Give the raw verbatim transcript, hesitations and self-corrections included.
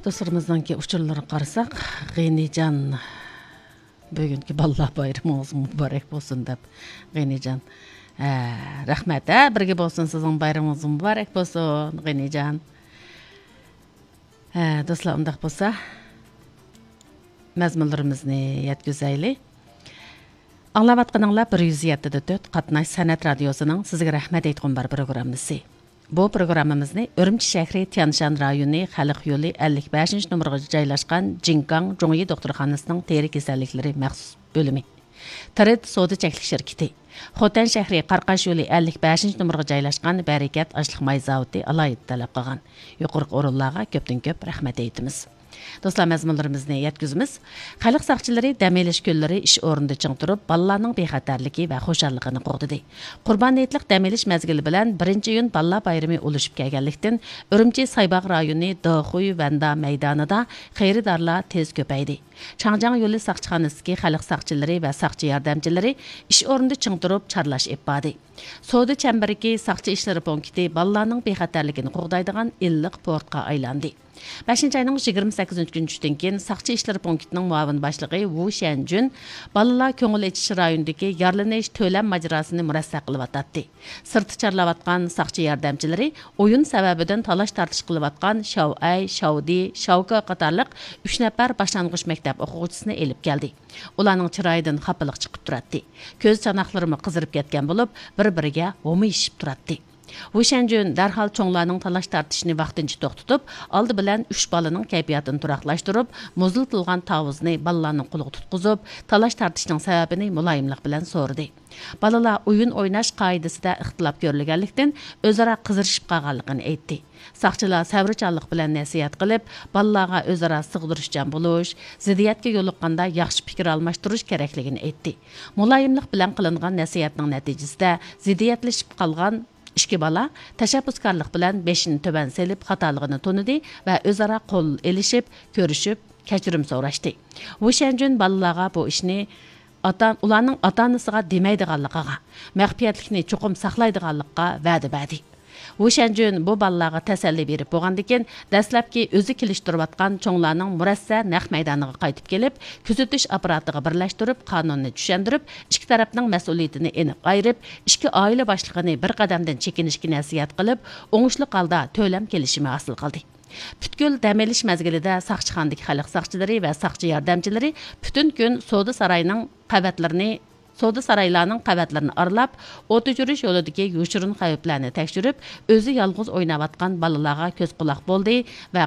دوستلىرىمىزنىڭكى ئۇچۇرلىرىغا قارىساق، غېنىجان، بۈگۈنكى بالىلار بايرىمىڭىز مۇبارەك بولسۇن دەپ، غېنىجان. ھە، رەھمەت، ھە، بىرگە بولسۇن، سىزنىڭ بايرىمىڭىز مۇبارەك بولسۇن، غېنىجان. ھە، دوستلار، ئۇنداق بولسا، مەزمۇنلىرىمىزنى يەتكۈزەيلى. ئاڭلاۋاتقىنىڭلار بىر يۈز يەتتە دە تۆت قاتناش سەنئەت رادىيوسىنىڭ سىزگە رەھمەت ئېيتقۇم بار پروگراممىسى. بۇ پروگراممىمىزنى ئۈرۈمچى شەھىرى تيانشان رايونى خەلق يولى ئەللىك بەشىنچى نومۇرغا جايلاشقان جىڭكاڭ جۇڭيى دوختۇرخانىسىنىڭ تېرە كېسەللىكلىرى مەخسۇس بۆلۈمى، ترېد سودا چەكلىك شىركىتى، خوتەن شەھىرى قاراقاش يولى ئەللىك بەشىنچى نومۇرغا جايلاشقان بەرىكەت ئاشلىق ماي زاۋۇتى ئالاھىدە تەلەپ قىلغان. يۇقىرىقى ئورۇنلارغا كۆپتىن كۆپ رەھمەت ئېيتىمىز. دوستلار، مەزمۇنلىرىمىزنى يەتكۈزىمىز. خەلق ساقچىلىرى دەم ئېلىش كۈنلىرى ئىش ئورنىدا چىڭ تۇرۇپ، بالىلارنىڭ بىخەتەرلىكى ۋە خۇشاللىقىنى قوغدىدى. قۇربان ھېيتلىق دەم ئېلىش مەزگىلى بىلەن بىرىنچى ئىيۇن بالىلار بايرىمى ئۇلىشىپ كەلگەنلىكتىن، ئۈرۈمچى سايباغ رايونى دېخۇي ۋەندا مەيدانىدا خېرىدارلار تېز كۆپەيدى. چاڭجياڭ يولى ساقچىخانىسىدىكى خەلق ساقچىلىرى ۋە ساقچى ياردەمچىلىرى ئىش ئورنىدا چىڭ تۇرۇپ چارلاش ئېلىپ باردى. سودا چەمبىرىكى ساقچى ئىشلىرى پونكىتى بالىلارنىڭ بىخەتەرلىكىنى قوغدايدىغان ئىللىق پورتقا ئايلاندى. بەشىنچى ئاينىڭ يىگىرمە سەككىزىنچى كۈنى چۈشتىن كېيىن ساقچى ئىشلىرى پونكىتىنىڭ مۇئاۋىن باشلىقى ۋۇ شيەنجۈن بالىلار كۆڭۈل ئېچىش رايونىدىكى يارىلىنىش تۆلەم ماجىراسىنى مۇرەسسە قىلىۋاتاتتى. سىرتتا چارلاۋاتقان ساقچى ياردەمچىلىرى ئويۇن سەۋەبىدىن تالاش-تارتىش قىلىۋاتقان شاۋئەي، شاۋدى، شاۋكا قاتارلىق ئۈچ نەپەر باشلانغۇچ مەكتەپ ئوقۇغۇچىسىنى ئېلىپ كەلدى. ئۇلارنىڭ چىرايىدىن خاپىلىق چىقىپ تۇراتتى. كۆز چاناقلىرىمۇ قىزىرىپ كەتكەن بولۇپ، بىر-بىرىگە ھومىيىشىپ تۇراتتى. ۋۇ شەنجۈن دەرھال چوڭلارنىڭ تالاش-تارتىشىنى ۋاقتىنچە توختىتىپ، ئالدى بىلەن ئۈچ بالىنىڭ كەيپىياتىنى تۇراقلاشتۇرۇپ، مۇزلىتىلغان تاۋۇزنى بالىلارنىڭ قولىغا تۇتقۇزۇپ، تالاش-تارتىشنىڭ سەۋەبىنى مۇلايىملىق بىلەن سورىدى. بالىلار ئويۇن ئويناش قائىدىسىدە ئىختىلاپ كۆرۈلگەنلىكتىن، ئۆزئارا قىزىرىشىپ قالغانلىقىنى ئېيتتى. ساقچىلار سەۋرچانلىق بىلەن نەسىھەت قىلىپ، بالىلارغا ئۆزئارا سىغدۇرۇشچان بولۇش، زىددىيەتكە يولۇققاندا ياخشى پىكىر ئالماشتۇرۇش كېرەكلىكىنى ئېيتتى. مۇلايىملىق بىلەن قىلىنغان نەسىھەتنىڭ نەتىجىسىدە زىددىيەتلىشىپ قالغان ئىككى بالا تەشەببۇسكارلىق بىلەن بېشىنى تۆۋەن سېلىپ خاتالىقىنى تونۇدى ۋە ئۆزئارا قول ئېلىشىپ، كۆرۈشۈپ، كەچۈرۈم سوراشتى. ۋۇ شەنجۈن بالىلارغا بۇ ئىشنى ئاتا، ئۇلارنىڭ ئاتا-ئانىسىغا دېمەيدىغانلىقىغا، مەخپىيەتلىكنى چوقۇم ساقلايدىغانلىققا ۋەدە بەردى. ۋۇ شەنجۈن بۇ بالىلارغا تەسەللى بېرىپ بولغاندىكىن، دەسلەپكى ئۆزى كېلىشتۈرۈۋاتقان چوڭلارنىڭ مۇرەسسە نەق مەيدانىغا قايتىپ كېلىپ، كۆزىتىش ئاپپاراتىغا بىرلەشتۈرۈپ، قانۇننى چۈشەندۈرۈپ، ئىككى تەرەپنىڭ مەسئۇلىيىتىنى ئېنىق ئايرىپ، ئىككى ئائىلە باشلىقىنى بىر قەدەمدىن چېكىنىشكە نەسىھەت قىلىپ، ئوڭۇشلۇق ھالدا تۆلەم كېلىشىمى ھاسىل قىلدى. پۈتكۈل دەم ئېلىش مەزگىلىدە ساقچىخانىدىكى خەلق ساقچىلىرى ۋە ساقچى ياردەمچىلىرى پۈتۈن كۈن سودا ساراينىڭ قەۋەتلىرىنى، سودا سارايلارنىڭ قەۋەتلىرىنى ئارىلاپ، ئوت ئۆچۈرۈش يولىدىكى يوشۇرۇن خەۋپلەرنى تەكشۈرۈپ، ئۆزى يالغۇز ئويناۋاتقان بالىلارغا كۆز قۇلاق بولدى ۋە